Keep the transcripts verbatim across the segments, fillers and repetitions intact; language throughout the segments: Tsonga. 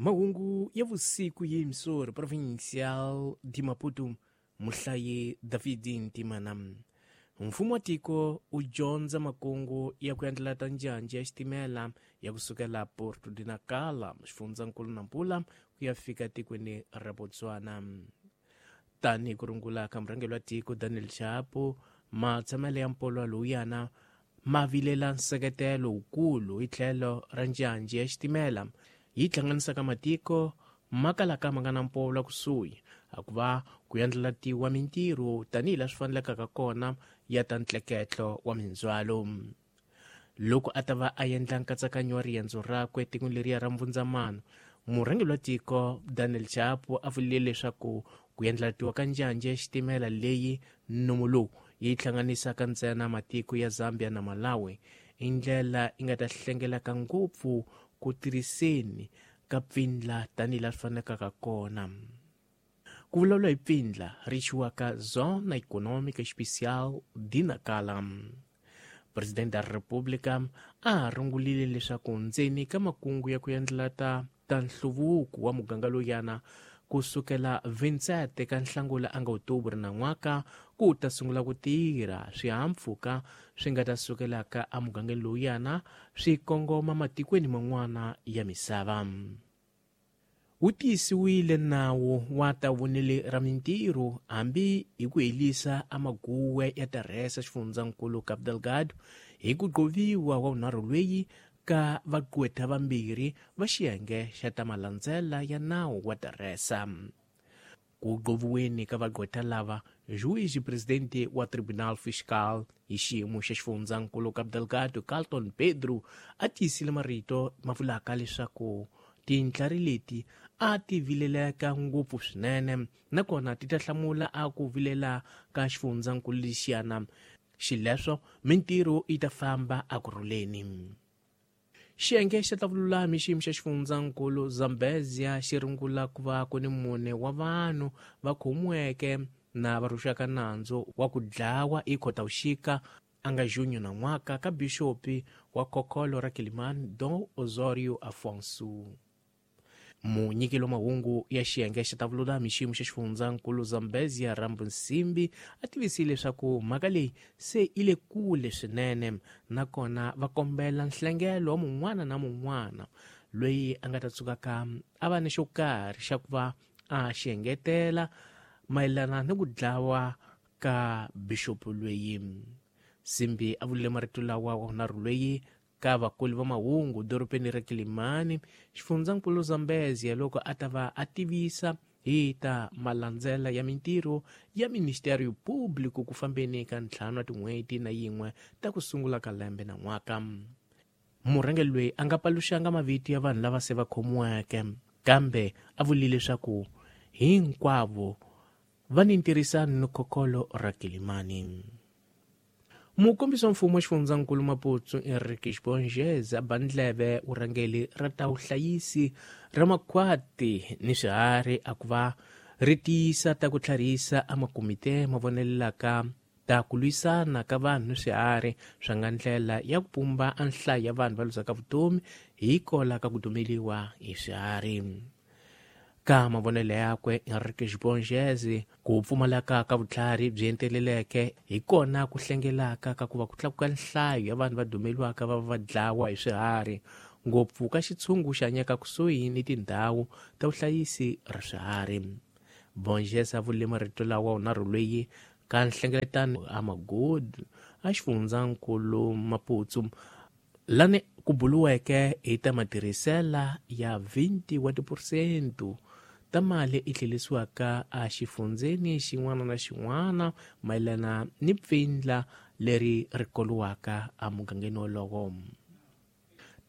Mahungu ya vusiku ya emissora provincial de Maputo, muhlayi David Ntimana. Mfumo wa tiko wu dyondza makungu ya ku endlela ta njhanjhi ya xitimela ya kusukela Porto de Nacala, xifundzankulu Nampula, ku ya fika tikweni ra Botswana. Tanihi ku rungula ka murhangeri wa tiko Daniel Chapo, matshamelo ya mpolwa lowuyana ma vilela nseketelo wukulu hi tlhelo ra njhanjhi ya xitimela yi hlanganisaka matiko ma kalaka ma nga na mpolwa kusuhi, hikuva ku endlelatiwa mintirho tanihi laha swi fanelekaka kona ya ta ntleketlo wa mindzhwalo. Loko a ta va a endla nkatsakanyo wa riendzo rakwe etikweni leriya ra Mbvundzamano, murhangeri wa tiko Daniel Chapo a vurile leswaku ku endlelatiwa ka njhanjhi ya xitimela leyi nomu lowu yi hlanganisaka ntsena matiko ya Zambia na Malawi i ndlela yi nga ta hlengelaka ngopfu ku tirhiseni ka pfindla tanihi laha swi fanelekaka kona. Ku vulavula hi pfindla ri chiwaka Zona Econômica Especial de Nacala. Presidente da República a rungulile leswaku ndzeni ka makungu ya ku endlela ta ta nhluvuko wa muganga lowuyana kusukela vintsete ka Nhlangula a nga Outubro na n'waka ku ta sungula ku tirha swihahampfhuka swi nga ta sukelaka emugangeni lowuyana swi kongoma matikweni man'wana ya misava. Wu tiyisiwile nawu wa ta vonele ra mintirho hambi hi ku helisa amaguwe ya Teresa xifundzankulu Cabo Delgado hi ku qoviwa wa vunharhu lweyi ka vaqwetha vambirhi va xiyenge xa ta malandzela ya nawu wa Teresa. Ku qoviweni ka vaqwetha lava, juiz presidente wa Tribunal Fiscal hi xiyimo xa xifundzankulu Cabo Delgado Carlton Pedro a tiyisile marito ma vulaka leswaku tintlhari leti a ti vileleka ngopfu swinene nakona ti ta hlamula a ku vilela ka xifundzankulu lexiyana, xileswo mintirho yi ta famba ekurhuleni. Xiyenge xa ta vululami xiyimo xa xifundzankulu Zambezia xi rungula ku va ku ni mune wa vanhu va khomiweke na va rhuxaka nandzu wa ku dlawa hi Khotavuxika a nga junho na n'waka ka bixopi wa khokholo ra Quelimane Dom Osorio Afonso. Munyikeli wa mahungu ya xiyenge xa ta vululami xiyimo xa xifundzankulu Zambezia Rambo Nsimbi a tivisile leswaku mhaka leyi se yi le kule swinene nakona va kombela nhlengelo wa mun'wana na mun'wana loyi a nga ta tsukaka a va ni xo karhi xa ku va a xi engetela mayelana ni ku dlawa ka bixopo loyi. Simbi a vurile marito lawa wa vunharhu loyi ka vakulu va mahungu dorobeni ra Quelimane, xifundzankulu Zambezia, loko a ta va a tivisa hi ta malandzela ya mintirho ya Ministério Público ku fambeni ka ntlhanu wa tin'hweti na yin'we ta ku sungula ka lembe na n'waka. Murhangeri loyi a nga paluxanga mavito ya vanhu lava se va khomiweke, kambe a vurile leswaku hinkwavo va ni ntirhisano ni khokholo ra Quelimane. Mukombisi wa mfumo wa xifundzankulu Maputo Enrique Borges a ba ndleve vurhangeri ra ta vuhlayisi ra makhwati ni swiharhi a ku va ri tiyisa ta ku tlharihisa a makomite ma vonelelaka ta ku lwisana ka vanhu ni swiharhi swa nga ndlela ya ku pumba a nhlayo ya vanhu va luzaka vutomi hi kola ka ku dumeliwa hi swiharhi. Ka mavonelo yakwe Enrique Borges, ku pfumaleka ka vutlhari byi enteleleke hi kona ku hlengelaka ka ku va ku tlakuka nhlayo ya vanhu va dumeliwaka va va dlawa hi swiharhi, ngopfu ka xitshungu xi hanyaka kusuhi ni tindhawu ta vuhlayisi ra swiharhi. Borges a vurile marito lawa vunharhu loyi ka nhlengeletano a Magudu a xifundzankulu Maputo lani ku buluweke hi ta matirhisela ya vinti wa tiphesente ta mali yi tlhelisiwaka a xifundzeni xin'wana na xin'wana mayelana ni pfindla leri ri koliwaka emugangeni wolowo.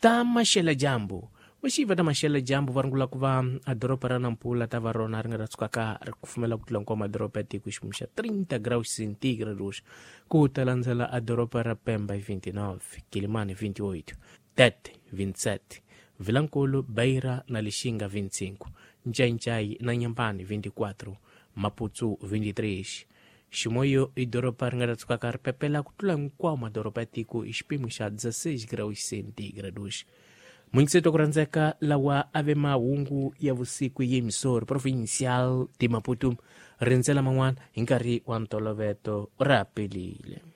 Ta maxela dyambu vaxiva ta maxela dyambu va rungula ku va a doroba ra Nampula ta va rona ri nga ta tsukaka ri kufumela ku tlula hinkwawo madoroba ya tiko xiyimo xa trinta graus centígrados, ku ta landzela a doroba ra Pemba hi vinti-nove, Quelimane vinti-oito, Tete vinti-sete, Vilankulu, Beira na Lixinga vinti-cinco, Ncaincaí na Inhambane vinti-quatro, Maputo vinti-três. Chimoio i doroba ri nga ta tsukaka ri pepela ku tlula hinkwawo madoroba ya tiko hi xipimo xa dezesseis graus centígrados. Muingiseto ku rhandzeka lawa a ve mahungu ya vusiku yi Misori Provincial de Maputo. Rindzela man'wana hi nkarhi wa ntoloveto ra pelile.